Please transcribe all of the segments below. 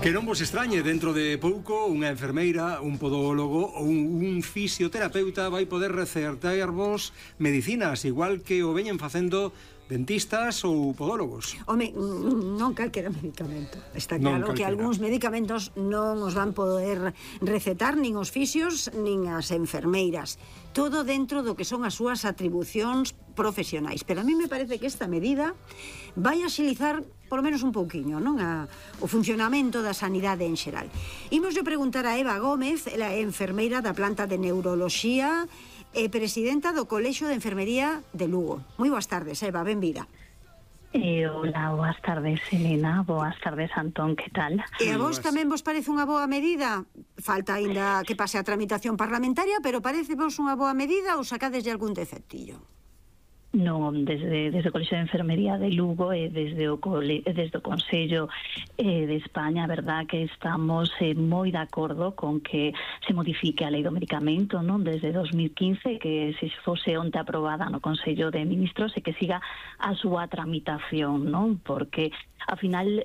Que non vos extrañe, dentro de pouco unha enfermeira, un podólogo ou un fisioterapeuta vai poder recetarvos medicinas, igual que o veñen facendo dentistas ou podólogos. Home, non calquera medicamento. Está claro que algúns medicamentos non os van poder recetar nin os fisios nin as enfermeiras. Todo dentro do que son as súas atribucións profesionais. Pero a mí me parece que esta medida vai axilizar polo menos un pouquiño, non? O funcionamento da sanidade en xeral. Imos yo preguntar a Eva Gómez, ela é enfermeira da planta de neuroloxía e presidenta do Colexio de Enfermería de Lugo. Moi boas tardes, Eva, benvida. Hola, boas tardes, Elena. Boas tardes, Antón, que tal? E a vos tamén vos parece unha boa medida? Falta aínda que pase a tramitación parlamentaria, pero parece vos unha boa medida ou sacades de algún defectillo? Non, desde o Colexio de Enfermería de Lugo e desde o Consello de España, a verdad que estamos moi de acordo con que se modifique a Lei do Medicamento, non, desde 2015, que se fose onte aprobada no Consello de Ministros e que siga a súa tramitación, non, porque ao final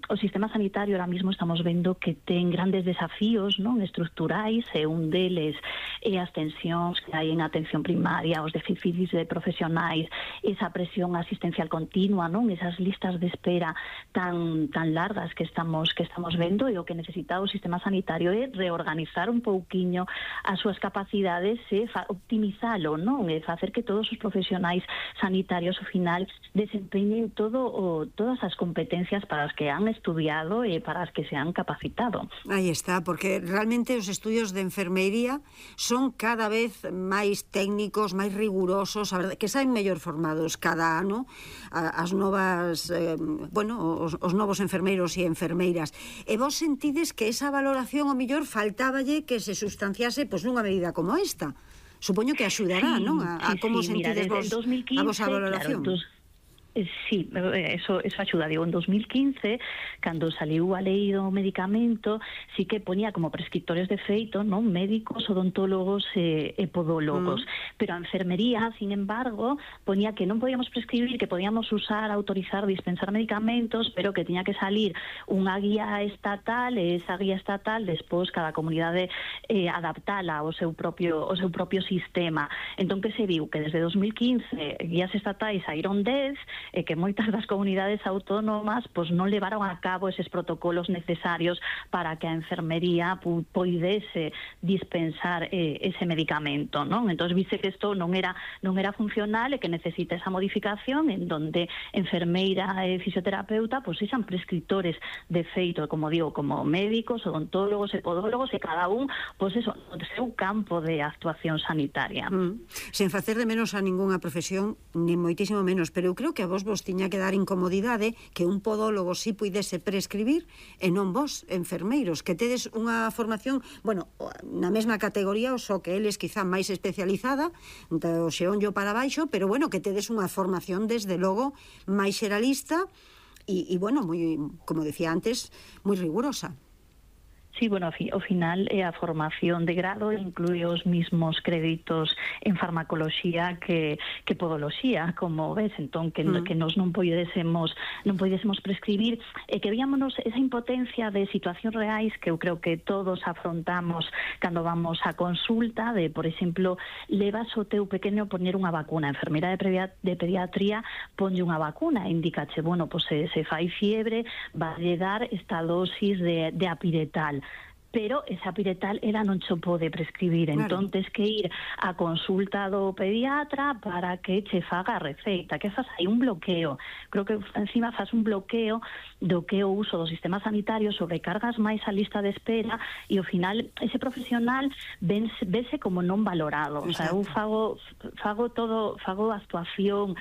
o sistema sanitario ahora mismo estamos vendo que ten grandes desafíos, non, estruturais, e un deles é as tensións que hai en atención primaria, os déficits de profesionais, esa presión asistencial continua, non, esas listas de espera tan largas que estamos vendo, e o que necesita o sistema sanitario é reorganizar un pouquiño as súas capacidades e optimizalo, non, e facer que todos os profesionais sanitarios ao final desempeñen todas as competencias para as que han estudiado e para as que se han capacitado. Aí está, porque realmente os estudios de enfermería son cada vez máis técnicos, máis rigurosos, a verdade, que saen mellor formados cada ano as novas, os novos enfermeiros e enfermeiras. E vos sentides que esa valoración o mellor faltáballe que se sustanciase nunha medida como esta? Supoño que axudará, non? A como sentides vos a vosa valoración. Claro, sí, eso axuda. Digo, en 2015, cando saliu a lei do medicamento, sí que ponía como prescriptores de feito, non, médicos, odontólogos e podólogos. Pero a enfermería, sin embargo, ponía que non podíamos prescribir, que podíamos usar, autorizar, dispensar medicamentos, pero que tiña que salir unha guía estatal, e esa guía estatal, despois, cada comunidade adaptala ao seu propio sistema. Entón, que se viu? Que desde 2015 guías estatais saíron 10, e que moitas das comunidades autónomas non levaron a cabo eses protocolos necesarios para que a enfermería poidese dispensar ese medicamento, non? Entón, vise que isto non era funcional e que necesita esa modificación en donde enfermeira e fisioterapeuta sexan prescriptores de feito, como digo, como médicos, odontólogos e podólogos, e cada un, no seu campo de actuación sanitaria. Sen facer de menos a ningunha profesión, nin moitísimo menos, pero eu creo que a vos tiña que dar incomodidade que un podólogo si puidese prescribir e non vos, enfermeiros, que tedes unha formación, na mesma categoría, o só que eles quizá máis especializada, do xeonllo para baixo, pero que tedes unha formación desde logo máis xeralista e moi, como decía antes, moi rigurosa. Sí, ao final a formación de grado inclúe os mismos créditos en farmacoloxía que podoloxía, como ves, entón que nos non poidésemos prescribir, e que víamos esa impotencia de situacións reais que eu creo que todos afrontamos cando vamos a consulta, de, por exemplo, levas o teu pequeno poñer unha vacuna, a enfermeira de pediatría ponlle unha vacuna, indicache, se fai fiebre, valle dar esta dosis de apiretal, pero esa piretal ela non cho pode prescribir, entón tes que ir a consulta do pediatra para que che faga a receita, que faz aí un bloqueo. Creo que encima faz un bloqueo do que o uso do sistema sanitario, sobrecargas máis a lista de espera, e ao final ese profesional vese como non valorado. O sea, eu fago a actuación